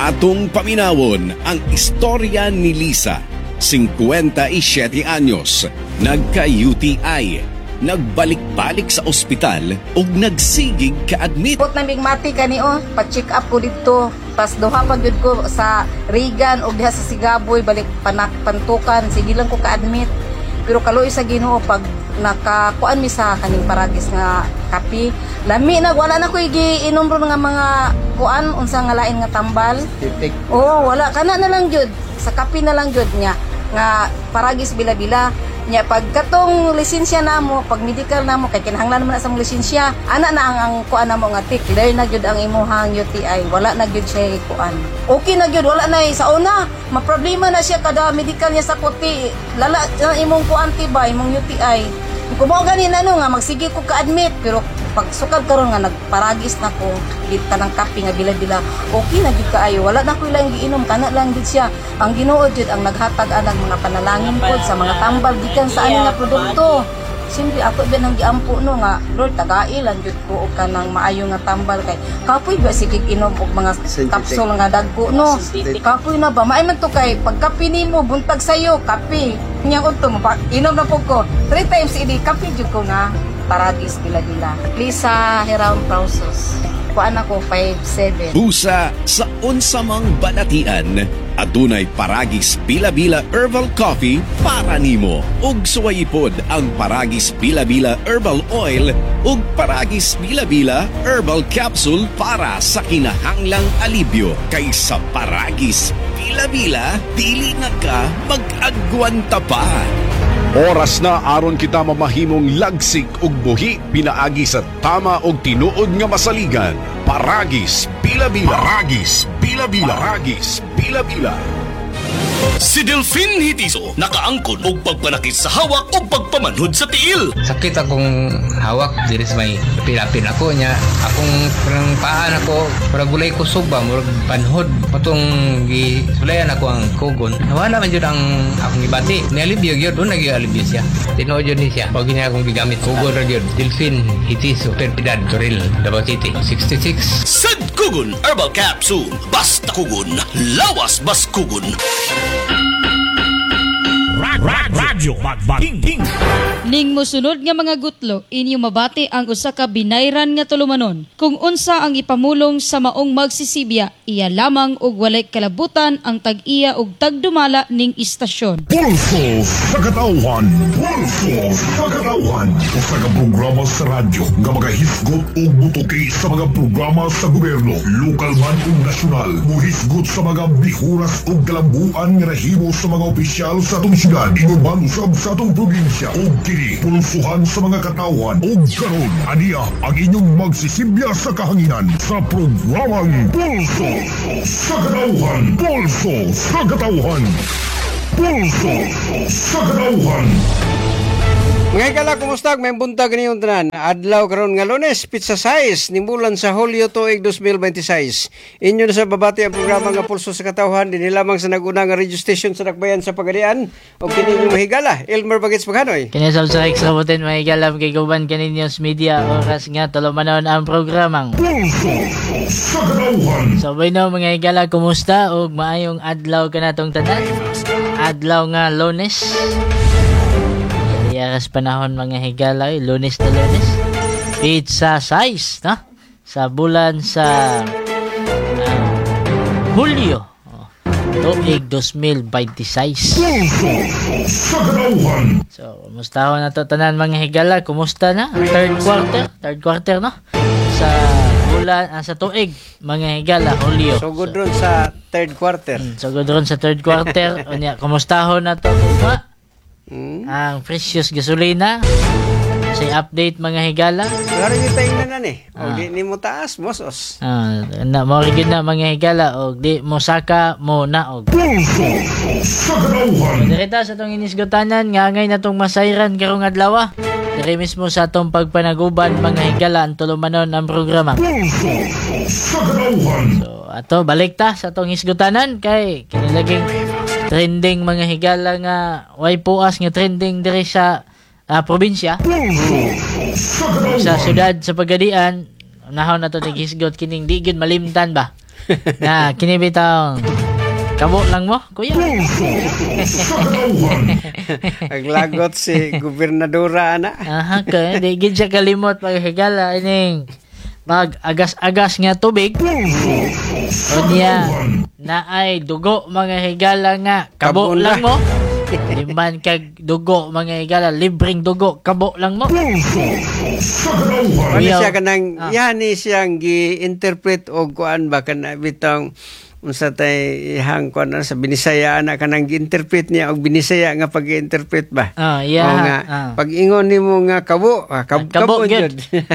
Atong paminawon ang istorya ni Lisa, 57 anyos, nagka-UTI, nagbalik-balik sa ospital ug nagsigig ka-admit. Put na migmati kani oh, pa-check up ko dito. Tas duha pa gyud ko sa Regan og diha sa Sigaboy, balik panak pantukan, sige lang ko ka-admit. Pero kaluoy sa Ginoo, pag nakakuan mi sa kaning Paragis nga kape, lami na, wala na ko giinom ron nga mga kuan, unsa nga lain nga tambal. Titik. Oo, wala kana na lang gyud. Sa kape na lang gyud niya nga Paragis Bila-bila. Nya pag katong lisensya namo, pag medical namo, kay kinahanglan man na sa mong lisensya. Ana na ang kuan namo nga tick, clear na gyud ang imuhang UTI. Wala na gyud siya kuan. Okay na gyud, wala na eh. Sa una, maproblema na siya kada medical niya sa kuti. Lala na imong kuan ti ba, imong UTI. Kung mao gani na no nga magsige ko ka-admit, pero pag sukad karon nga nagparagis na ko dit kanang kape nga bila-bila, okay na gyud kaayo, wala na ko ilang giinom, kana lang gyud siya. Ang Ginoo jud ang naghatag anang mga panalangin pod sa mga tambal gikan sa ani nga produkto. Siyempre ako ba nang giampo no nga, "Lord, tagai lang jud ko og kanang maayo nga tambal," kay kapoy ba sige inom og mga Synthetic. Kapsule nga dagko no. Synthetic. Kapoy na ba, maay man to kay pagkape nimo buntag sayo kape nya udto mo pa, inom na po ko three times a day, kape jud ko nga Paragis Bila-bila. Lisa Heraon Prausos. Kuan ako, 5'7". Busa sa unsamang balatian, adunay Paragis Bila-Bila Herbal Coffee para nimo. Ug suwayipod ang Paragis Bila-Bila Herbal Oil ug Paragis Bila-Bila Herbal Capsule para sa kinahanglang alibyo. Kay sa Paragis Bila-Bila, dili na ka mag-agwanta pa. Oras na aron kita mamahimong lagsik ug buhi pinaagi sa tama ug tinuod nga masaligan. Paragis Bila-Bila. Paragis Bila-Bila. Paragis Bila-Bila. Si Delphine Hitiso nakaangkon og pagpanakit sa hawak o pagpamanhod sa tiil. Sakit akong hawak diri sa may pilapil ako niya. Akong parang paa nako, murag walay kusog ba, murag panhod. Patong gisulayan ako ang kugon. Nawala man jud ang akong gibati. Nialibyo gyud, doon nagyalibyo siya. Tinuod jud ni siya. Pag niya akong gigamit, kugon ra gyud. Delphine Hitiso, Perpidad, Toril, Davao City. 66. Sad Kugon Herbal Capsule. Basta kugon, lawas bas kugon. Radyo King. Ning mosunod nga mga gutlo, inyo mabati ang usa ka binayran nga tulumanon. Kung unsa ang ipamulong sa maong magsisibya, iya lamang og walay kalabutan ang tag-iya og tagdumala ning istasyon. Pulso sa Katawhan. Pulso sa Katawhan. Usa ka programa sa radyo nga magahisgot og mutuki sa mga programa sa gobyerno, lokal man ug nasyonal. Muhisgot sa mga bihuras ug kalambuan nga nahimo sa mga opisyal sa atong syudad, ingon man usab sa atong probinsya. Ug kini pulsuhan sa mga katawhan. Ug karon, aniya ang inyong magsisibya sa kahanginan sa programang Pulso sa Katawhan. Pulso sa Katawhan. Pulso sa Katawhan. Mga higala, kumusta? May buntag niyong tanan. Adlaw karon nga Lunes, petsa 6, ni bulan sa Hulyo tuig 2026. Inyo na sa babati ang programa nga Pulso sa Katawhan dinhi lamang sa nag-una nga radio station sa Dakbayan sa Pagadian. Og kini inyong mahigala, Elmer Bagits Paghanoy. Kinisab sa Rex Raboten, may galam kay Guban Kaninyos Media, oras nga tulumanon ang programang Pulso sa Katawhan. So bueno, mga higala, kumusta ug maayong adlaw kanatong tanan. Adlaw nga Lunes. Iyaras panahon, mga higala, eh, Lunes na Lunes. Petsa 6, no? Sa bulan sa Hulyo. Oh, tuig 2026. Pulso sa Katawhan. So, kumusta ho na to tanan, mga higala? Kumusta na? Third quarter? Third quarter, no? Sa bulan, sa tuig, mga higala, Hulyo. So good ron sa third quarter. So, good ron sa third quarter. Unya, kumusta ho na to? Kuma? Ang precious gasolina. Sa update, mga higala. Wala rin yung tayo na ni. O di ni mo taas, mosos. Ah, na mo gyud na, mga higala, og di mo saka mo naog. Pulso sa Katawhan. Direta sa atong inisgotanan nga angay natong masayran karong adlaw. Dire mismo sa atong pagpanaguban, mga higala, ang tulumanon ang programa. Pulso sa Katawhan. So ato balik ta sa atong hisgutanan kay kinilaging trending, mga higala, nga way puas nga trending diri sa probinsya Pulso sa sa Katawhan. Syudad sa Pagadian. Unahon na to naghisgot kining di gyud malimtan ba. Na kini bitawng kabo lang mo, kuya. Aglagot si gobernadora ana. Aha, kay di gid siya kalimot mga higala ining mag agas-agas nga tubig. Unya naay dugo, mga higala, nga kabo Kabo na. lang mo. Di man kag dugo, mga higala, libreng dugo, kabo lang mo. Ano Kuya. siya kanang yani siyang gi-interpret og kuan ba, kana bitong unsa tay ihang kuan na sa Binisaya ana, kanang gi-interpret niya og Binisaya nga pag-interpret ba. Yeah. O nga pag ingon nimo nga kabo, Kabo kabo gyud. gyud.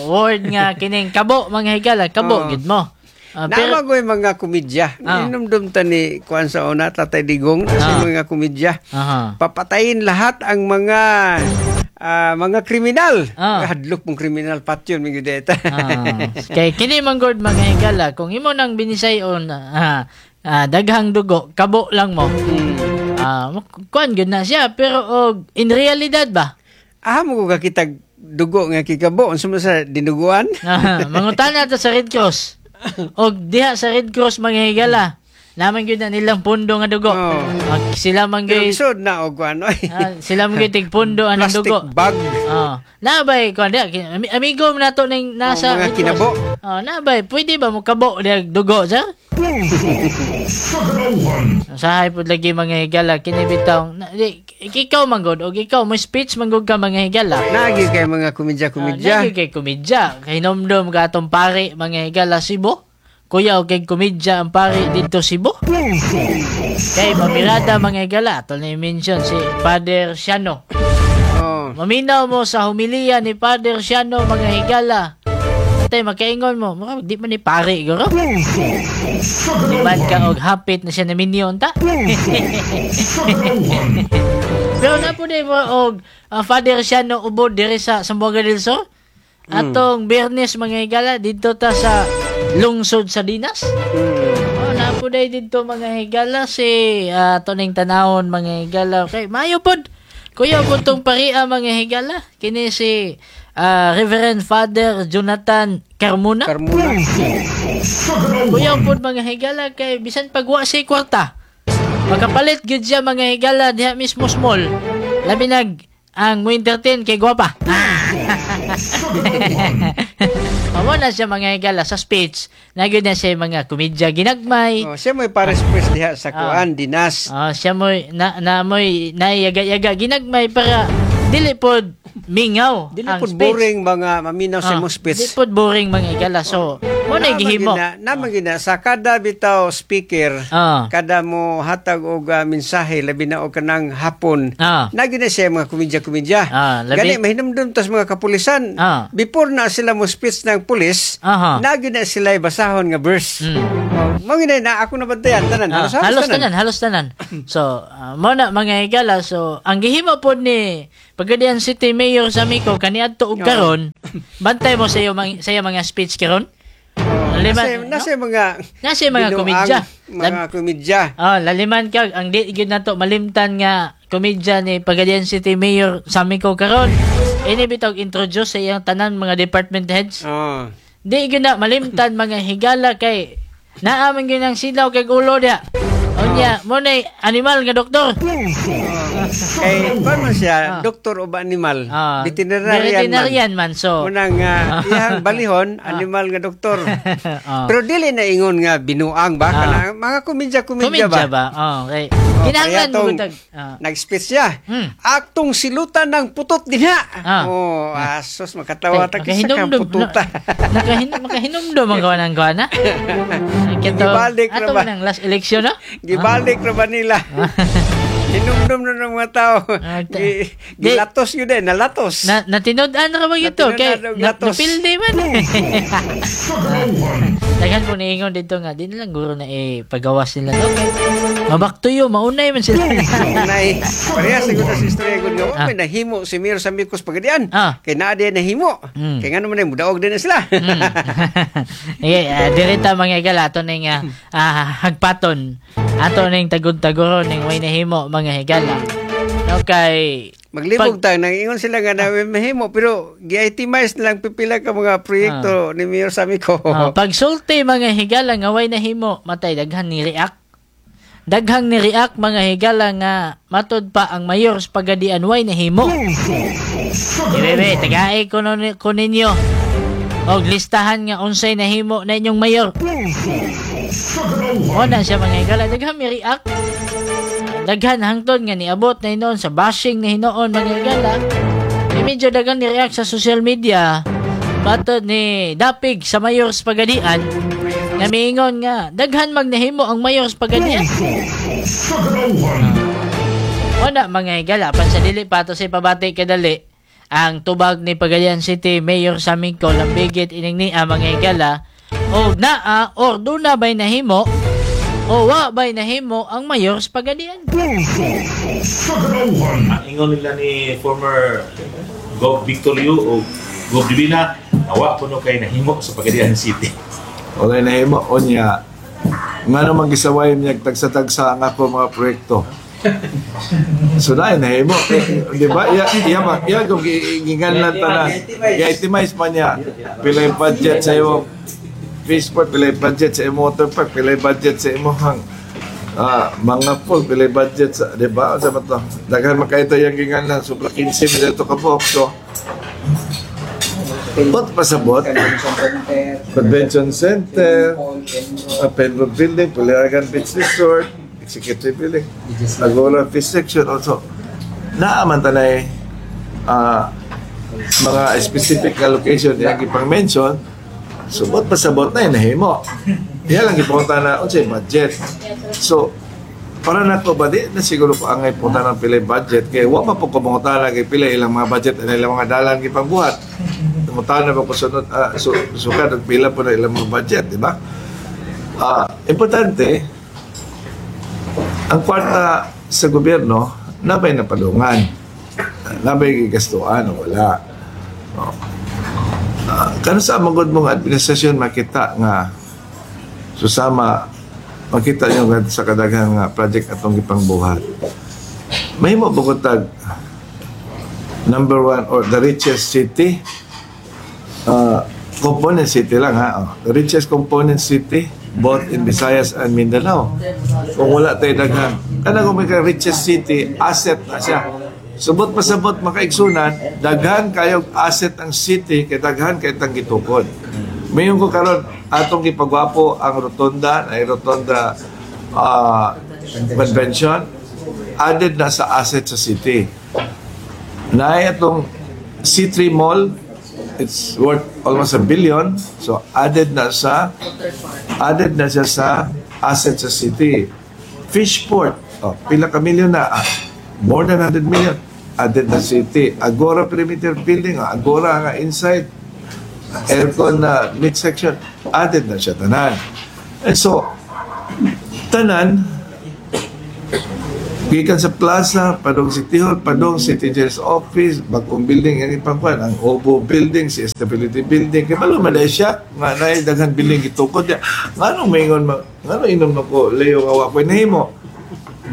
Word nga kining kabo, mga higala, kabo gyud mo. Pero Nama ko'y mga komedya. Inumdum ta ni kuan sa una, Tatay Digong, sa mga komedya. Papatayin lahat ang mga mga kriminal. Hadlok mong kriminal patyon mga deta. Kay kini man gud, mga higala, kung imo nang binisayon daghang dugo, kabo lang mo. Kuan gyud na siya, pero og in realidad ba? Ah, mo ko kakitag dugo nga kikabo unsa man sa dinuguan? Mangutana ta sa Red Cross. Og diha sa Red Cross, mga higala, naman gyud na nilang pundo nga dugo. Sila man Pero gyud isod na og kuan oy. Sila man gyud tigpundo anang Plastic dugo. bag. Oh, nabay kuan diha amigo man nato ning nasa Oh, mga Red Cross. kinabo. Oh, nabay pwede ba mo kabo diha dugo, sir? Usahay pud lagi, mga higala, kini bitaw na, di, ikaw man gud og ikaw mo speech man gud ka, mga higala. Nagi kay mga komedya-komedya. Nagi kay komedya. Kay hinumdum ka atong pare, mga higala, Cebu. Kuya, og kay komedya ang pare dito Cebu. Kay mamirada, mga higala, ato na i-mention si Father Siano. Oh. Maminaw mo sa humiliya ni Father Siano, mga higala. Atay, makaingon mo, mura, di man ni pare, guro. Di man ka og hapit na siya na minyon ta. Pero na po na mo og Father Siano ubod diri sa Zamboanga del Sur. Atong Biyernes, mga higala, dito ta sa lungsod sa Dinas. Oh, na po na dito, mga higala, si tuning tanawon, mga higala. Okay, maayo pod. Kuya po tong paria, mga higala. Kini si Reverend Father Jonathan Carmona. Carmona. Kuya po, mga higala, kay bisan pagwa si kwarta. Makapalit gyud siya, mga higala, diha mismo small. Labi nag ang mo entertain kay gwapa. Amo na siya, mga higala, sa speech. Na gyud na siya mga komedya ginagmay. Oh, siya mo'y pares press diha sa kuan Dinas. Ah, siya mo'y na, na mo'y naiyaga-yaga ginagmay para dili pod mingaw Dili ang pod speech. boring mga maminaw sa imong speech. Di pod boring, mga higala. So, mo na gihimo. Naman gina sa kada bitaw speaker, kada mo hatag og mensahe, labi na og kanang hapon. Na gina siya mga komedya-komedya. Labi. Gani mahinumdum tas mga kapulisan. Before na sila mo speech ng pulis, na gina sila basahon nga verse. Oh, mao gina na ako nabantayan tanan. Halos, halos, Halos tanan, halos tanan. So, mo na, mga higala. So, ang gihimo pod ni Pagadian City Mayor sa Miko kaniadto og karon, bantay mo sa iyo sa iya mga speech karon. Laliman, Nasa mga nasa mga binuang komedya. Mga komedya. Laliman ka ang di gyud nato malimtan nga komedya ni Pagadian City Mayor Samico karon. Ini bitaw introduce sa iyang tanan mga department heads. Di gyud na malimtan, mga higala, kay naa man gyud ang silaw kay ulo diha. Unya, mo na animal nga doktor. Kay kuan man siya, doktor o ba animal? Veterinarian man. Veterinarian man. So, Unang iyang balihon, animal nga doktor. Pero dili na ingon nga binuang ba? Kana mga komedya-komedya ba? Komedya ba? Oh, okay. Oh, Kinahanglan kaya mo tong gutag. Nag-speech siya. Aktong silutan ng putot dinha. Oh, asos makatawa ta kisa ka Makahinumdum. pututa. Makahinumdum ang gawa ng gawa na. Kito, Gibalik na ato ba? man ang last election, no? Gibalik ra ba nila? Hinumdum na ng mga tao. Gilatos yun eh, nalatos. Na, natinud-an ra ba ito? Kay, Natinud-an og na, latos. napildi man. Daghan po niingon dito nga, di na lang guro na ipagawas nila. Okay. Mabaktuyo, maunay man sila. Unay, pareha siguro sa istorya gud nga wa may nahimo si Mayor sa Micos Pagadian. Kay naa di nahimo. Kay ngano man ay mudaog din na sila. Okay, dirita, mga higala, ato ning hagpaton. Ato ning tagud-taguron ning way nahimo, mga higala. No kay Maglibog ta nang ingon sila nga na mahimo, pero gi-itemize na lang pipila ka mga proyekto ni Mayor Samico. Ah, pagsulti, mga higala, nga way nahimo, matay daghan ni react. Daghang ni react, mga higala, nga matod pa ang mayor sa Pagadian way nahimo. Bebe, tagay ko, no, ko ninyo. Og listahan nga unsay nahimo na inyong mayor. O na siya, mga higala, daghang mi react. Daghan hangtod nga niabot na hinoon sa bashing na hinoon, mga higala. Eh, medyo daghan ni react sa social media. Matod ni dapig sa mayor sa Pagadian nga miingon nga daghan magnahimo ang mayor sa Pagadian. O na, mga higala, pan sa dili pa to sa ipabati kadali ang tubag ni Pagadian City Mayor Samico lambigit ining niya, mga higala, o naa or duna bay nahimo o wa bay nahimo ang mayor sa Pagadian. Ang ingon nila ni former Gov Victor Yu o Gov Divina, awa kuno kay nahimo sa Pagadian City. Walay nahimo unya. Nga naman gisaway niya tagsa-tagsa ang ako mga proyekto. So na nahimo. Eh, di ba? Iya iya ba? Iya kung ginganlan tanan. I-itemize man niya. Pila yung budget sa imong Fishport, pila yung budget sa imong water park, pila yung budget sa imong mga pool, pila yung budget sa, di ba? Sa ba to? Daghan man kayo yung ginganlan. Sobra 15 mil ito kabuok. So, bot pasabot. Convention Center, Penro Building, Puliagan Beach Resort, Executive Building, Agora Fish Section also. Naaman tanay mga specific allocation yang ipang mention, subot pasabot na nahimo. Iya lang ipunta na unsay budget. So, para nako ba, di na siguro ko angay punta ng pilay budget kay wa pa po ko mangutana kay pila ilang mga budget ana ilang mga dalan gipangbuhat. Mangutana ba ko sunod sukad og pila po na ilang mga budget, di ba? Importante ang kwarta sa gobyerno nabay napadungan. Nabay gigastuan o wala. Oh. Kano sa magod mong administrasyon makita nga susama makita niyo nga sa kadaghang nga project atong gipangbuhat. Mahimo bukod tag number one or the richest city, component city lang ha. Oh. The richest component city both in Visayas and Mindanao. Kung wala tayo daghan. Kana kung may ka richest city, asset na siya. Subot pasabot makaigsunan, daghan kayog asset ang city kay daghan kay tang gitukod. Mayon ko karon atong gipagwapo ang rotonda, ay rotonda convention added na sa asset sa city. Naay atong C3 Mall, it's worth almost a billion. So added na siya sa asset sa city. Fishport, oh, pila ka milyon na? More than 100 million. Added na city. Agora Perimeter Building, Agora nga inside, aircon na midsection, added na siya tanan. And so, tanan, gikan sa plaza, padong City Hall, padong City Jail's Office, bagong building ang ipangkuan, ang Obo Building, si Stability Building, kay balo man dahil siya, nga naay daghan building gitukod niya. Ngano maingon ma, ngano inom nako Leo nga wa ko'y nahimo?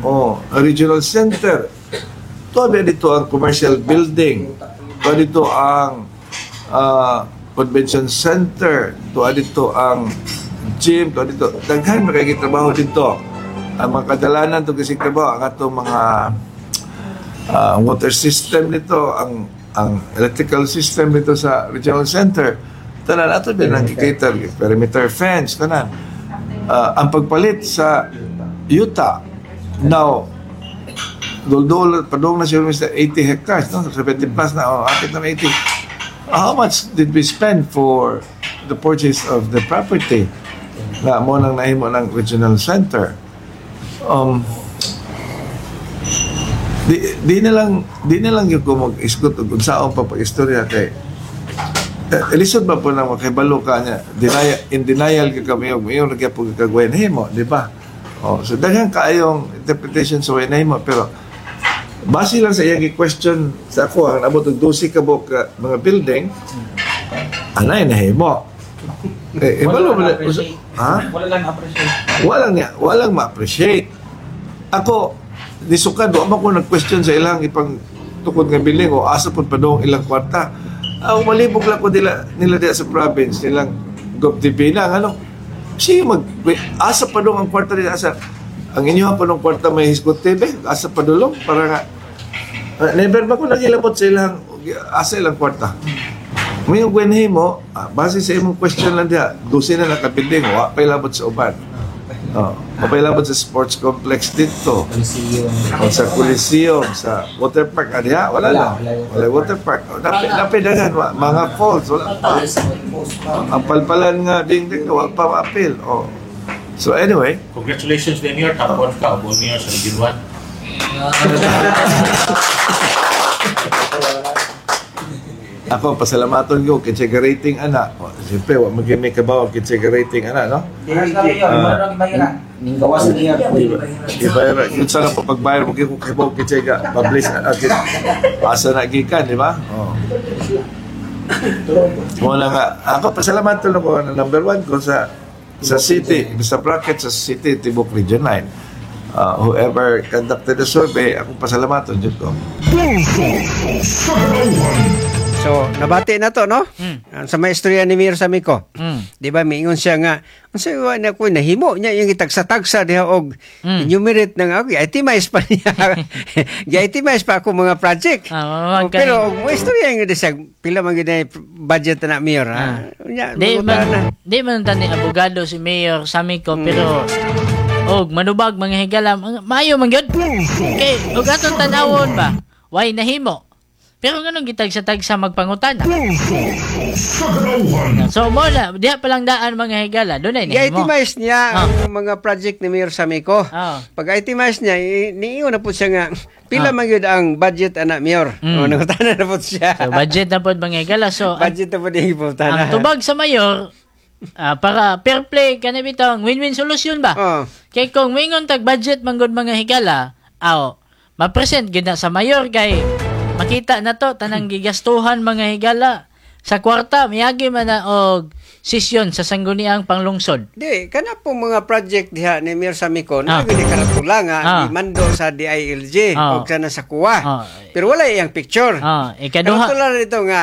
Oh, regional center. Tuwa dito ang commercial building. Tuwa dito ang convention center. Tuwa dito ang gym. Tuwa dito. Daghan makagi trabaho dito. Ang mga kadalanan to kasi trabaho ang atong mga water system nito, ang electrical system nito sa regional center. Tanan ato din ang kikater, perimeter fence, tanan. Ang pagpalit sa yuta, now, duldul, padung na siya Mr. 80 hectares, no? 70 plus na, oh, apit na 80. How much did we spend for the purchase of the property na mo nang nahimo ng regional center? Di na lang yung ko mag-isgot og unsaon pa pag-istorya kay lisod ba po nang makibalo ka niya denial, in denial ka kami og mayon nagyapon kag way nahimo, di ba? Oh, so daghan kaayong interpretation sa way nahimo, pero base lang sa iyang question sa ako ang abot og 12 ka buok ka mga building anay nahimo eh, Wala ibalo lang ba na- appreciate. Ha? Wala lang appreciate. Walang niya, walang ma-appreciate. Ako, nisukad, wa man ko nag-question sa ilang ipang gitukod nga building o asa pud padung ilang kwarta. Ang malibog lang ko nila nila diya sa province nilang Gov Divina ano. Sige mag asa padung ang kwarta nila, asa ang inyo pa nung kwarta may hisgot TV, asa padulong para nga never ba ko nagilabot sa ilang asa ilang kwarta. May gwenhe mo, base sa imong question lang diha, 12 na nakabuilding, wa pa ilabot sa uban. Oh, wa pa ilabot sa sports complex dito. Coliseum. O sa Coliseum, sa water park, diha, wala na. Wala water park. O, napi daghan, mga falls, wala pa. Ang palpalan nga ding ding, wa pa maapil. Oh. So anyway, Congratulations, Mayor. Top 1 ka, all mayor sa Region 1. Ako pasalamaton ko kay check rating ana. O, siyempre wa man may kabaw kay check rating ana, no? Ning gawas niya. Ibayar, yun sana pa pagbayar mo kay kabaw kay check publish asa na gikan, di ba? Oh. Mo na nga, ako pasalamaton ako na number 1 ko sa city, sa bracket sa city Tibok Region 9. Whoever conducted the survey, ako pasalamaton jud ko. Pulso sa Katawhan. So, nabati na to, no? Sa maestroya ni Mayor Samico. Di ba, miingon siya nga, unsa wa na ko nahimo niya yung itagsa-tagsa diha og enumerate na nga, okay, itemize pa niya. Gi-itemize pa ako mga project. Oh, pero og maestroya nga di siya, pila man gyud budget na Mayor, ha? Unya, Di mangutan na. man, di man tani abogado si Mayor Samico, pero og manubag mga higala, maayo man gyud. Kay og atong tan-awon ba, why nahimo? Pero nganong gitagsa-tagsa magpangutana? Sa Katawhan. So mo na, diha pa lang daan mga higala, dunay nahimo. I-itemize niya ang mga project ni Mayor Samico. Pag itemize niya, niingon na po siya nga, pila man gyud ang budget ana Mayor. O, nangutana na po siya. So budget na pod mga higala. So budget na po niya iputana. Ang tubag sa mayor, para fair play kana bitong win-win solution ba? Kay kung mingon tag budget man gud mga higala, aw ma-present gyud na sa mayor kay makita na to tanang gigastuhan mga higala sa kwarta, miagi man na og sesyon sa sangguniang panglungsod. Di, kana po mga project diha ni Mayor Samico, na gyud karatula nga mando sa DILG og sana sa kuwa. Pero wala iyang picture. Ikaduha. Karatula nito nga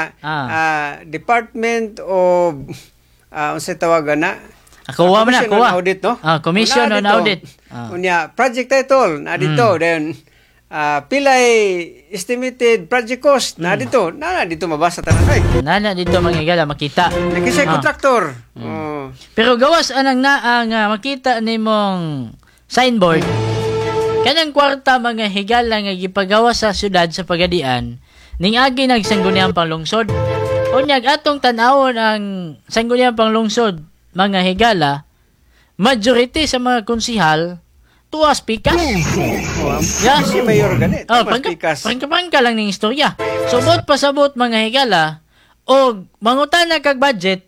Department of unsay tawagan na? Kuha man na, Commission kuha. on Audit, no? Commission Una on dito. Audit. Unya, project title na dito, then pilay estimated project cost na dito. Na dito mabasa tanan ay. Nana dito mga higala makita. Nakisay contractor. Oh. Pero gawas anang naa nga makita nimong signboard kanang kwarta mga higala nga gipagawas sa syudad sa Pagadian ning agi nagsangguniang panglungsod. Unyag atong tan-awon ang sangguniang panglungsod mga higala, majority sa mga konsihal tuwas pikas. Yeah. Si Mayor gani, Oh, tuwas pikas. Prangka-prangka lang ning istorya. Subot pasabot mga higala og mangutana kag budget,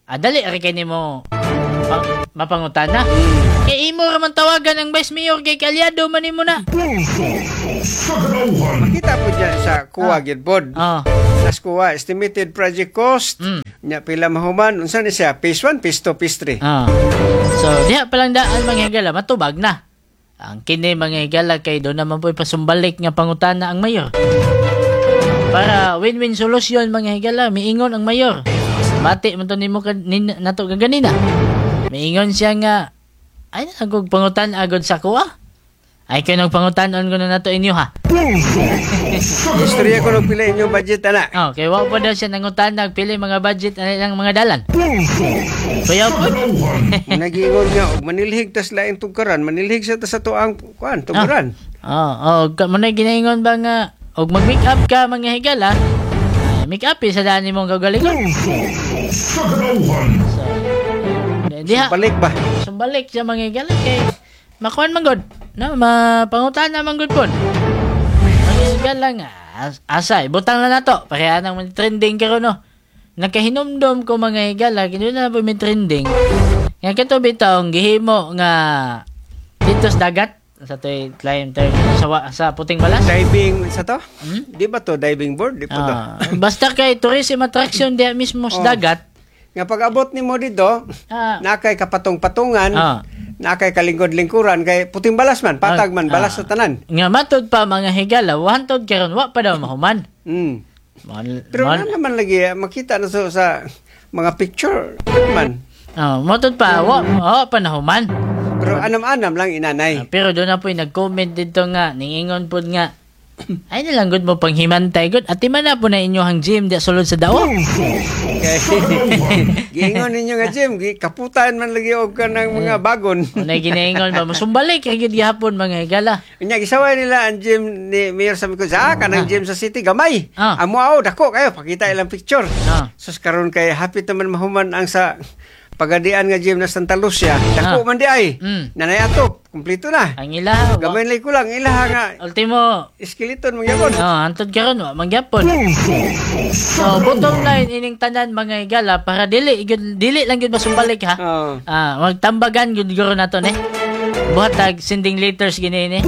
dali ra kay nimo mapangutana. Kay imo ra man tawagan ang vice mayor kay kalyado man nimo na. Makita po dyan sa kuwa gyud pod. Nas kuwa estimated project cost. Nya pila mahuman unsa ni siya? Phase 1, phase 2, phase 3. So diha pa lang daan mga higala matubag na. Ang kini mga higala kay doon naman po'y pasumbalik nga pangutana ang mayor. Para win-win solution mga higala, miingon ang mayor. Bati man to nimo nato kaganina. Miingon siya nga ay nagog pangutan agod sa kuha. Ay kayo nagpangutanon ko na nato inyo ha. Istorya ko nung pila inyong budget ana. Oh, kay wa pa daw siya nangutan nagpili mga budget ana ilang mga dalan. Kuya po. Nagingon nga og manilhig tas laing tugkaran, manilhig sa ta sa tuang kuan, tugkaran. Oh, oh, mo na ginaingon ba nga og mag-make up ka mga higala? Make up eh, sa daan nimong kagalingon. Sa Katawhan. Diha. Sumbalik ba? Sumbalik siya mga higala kay makuan man gud. No, mapangutan na man gud pud. Mga higala nga asa ibutang na nato pareha nang may trending karon no. Nakahinumdom ko mga higala kini na po may trending. Nga kato bitong gihimo nga dito sa dagat sa toy climb term sa puting balas. Diving sa to? Di ba to diving board? Di pa to. Basta kay tourism attraction diha mismo sa dagat. Nga pag-abot nimo dito, nakay kapatong-patungan, Na kay kalingkod-lingkuran kay puting balas man, patag man, balas sa tanan. Nga matud pa, mga higala, hantod karon wa pa daw mahuman. Pero na naman lagi makita na so sa mga picture man. Oh, matud pa wa pa nahuman. Pero anam-anam lang inanay. Pero doon na po yung nag-comment dito nga, ningingon po nga, ay nalang gud mo panghimantay gud. Ati man na po na inyohang gym di sulod sa dao. Kay giingon ninyo nga gym, kaputan man lagi og kanang mga bagon. Unay ginaingon ba musumbalik kay gid gihapon, mga higala. Unya gisaway nila ang gym ni Mayor sa Mikon sa kanang gym sa city gamay. Amo aw dako kayo pakita ilang picture. Sus, karon kay hapit naman mahuman ang sa Pagadian nga gym na Santa Lucia. Dako man di ay. Nanay atop, kumpleto na. Ang ilaha. Gamay lang kulang ilaha nga ultimo skeleton mangyapon. Oh, hantod karon wa mangyapon. So bottom line ining tanan, mga higala, para dili gyud, dili lang gyud masumbalik ha. Ah, magtambagan gyud guro nato ni. Buhatag sending letters gini ni.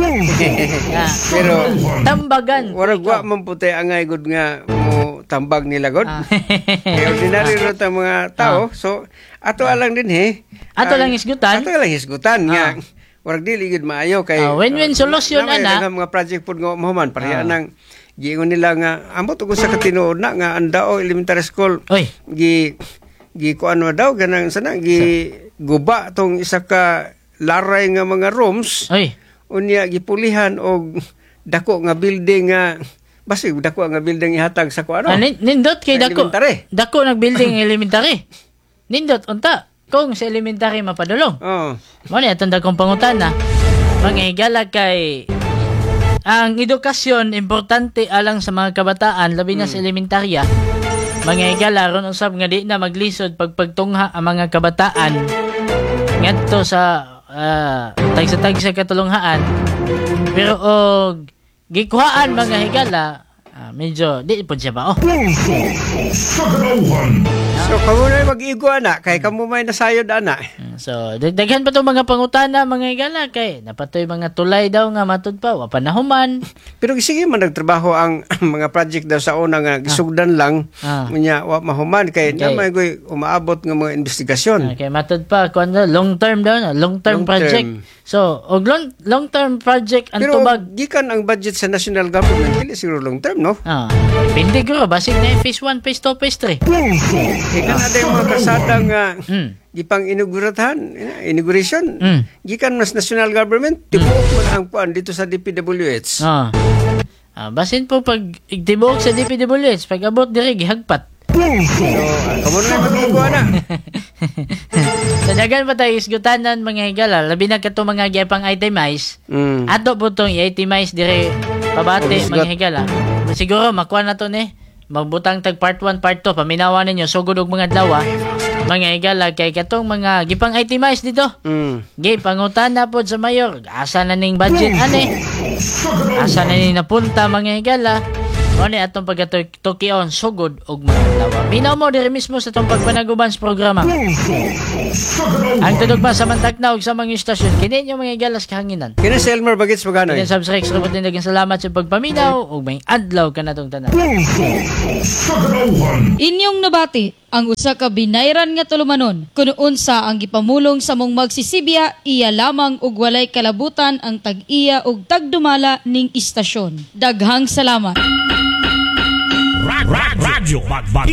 Ah, Pero tambagan. Warag wa man puti angay gud nga mo tambag nila god. Kay ordinary ra ta mga tao. So ato alang din he. Ato lang hisgutan. Ato lang hisgutan nga warag dili gud maayo kay Win-win solution, naa may ana. daghang mga project pud nga mahuman pareha nang giingon nila nga ambot og sa katinuod na nga ang Dao Elementary School. Oy. Gi gi kuan daw ganang sana gi guba tong isa ka laray nga mga rooms. Oy. Unya gipulihan og dako nga building nga basig dako nga building ihatag sa kuano. Ah, nindot kay Sa dako. elementary. Dako nag building elementary. Nindot unta kung sa elementary mapadulong. Oh. Mo ni atong dakong pangutana. Mga higala, kay ang edukasyon importante alang sa mga kabataan, labi na sa elementarya. Mga higala, ron usab nga di na maglisod pagpagtungha ang mga kabataan ngadto sa tagsa-tagsa katulunghaan. Pero og gikuhaan, mga higala, medyo di po siya ba oh. So kamo na mag-igo ana kay kamo may nasayod ana. So, daghan pa tong mga pangutana, mga higala, kay napatoy mga tulay daw nga matud pa wa pa nahuman. Pero sige man nagtrabaho ang mga project daw sa una nga gisugdan lang unya wa mahuman kay naman koy umaabot nga mga investigasyon. Okay, matud pa kuan daw, long term daw na, long term Long project. term. So, og long term project ang Pero tubag gikan ang budget sa national government dili siguro long term, no? Depende guro basig na phase 1, phase 2, phase 3. Kay kana yung mga kalsada nga gipang inauguratan, inauguration, gikan mas national government, tibuok man ang kuan dito sa DPWH. Ah, basin po pag tibuok sa DPWH, pag abot diri gihagpat. So, kamo na mag-igo ana. Sa dagan pa tayo isgutanan, mga higala, labi na kato mga gipang itemize. Ato po tong i-itemize dire pabati, Hugot. mga higala. Siguro makuha na to ni. Magbutang tag part 1, part 2, paminawa ninyo sugod og mga adlaw, mga higala, kay katong mga gipang itemize dito. Gi pangutana pod sa mayor, asa na ning budget ani? Asa na ning napunta, mga higala? Mo ni atong pagkatukion sugod og mga adlaw. Minaw mo diri mismo sa atong pagpanaguban sa programa. Ang tudugma sa mantakna ug sa mga istasyon kini inyo, mga higala, sa kahanginan. Kini si Elmer Bagits Maganoy. Kini sab Rex Robot din, daghang salamat sa pagpaminaw ug may adlaw kanatong tanan. Inyong nabati ang usa ka binayran nga tulumanon kun unsa ang gipamulong sa mong magsisibya, iya lamang ug walay kalabutan ang tag-iya ug tagdumala ning istasyon. Daghang salamat. Radyo Bagbag.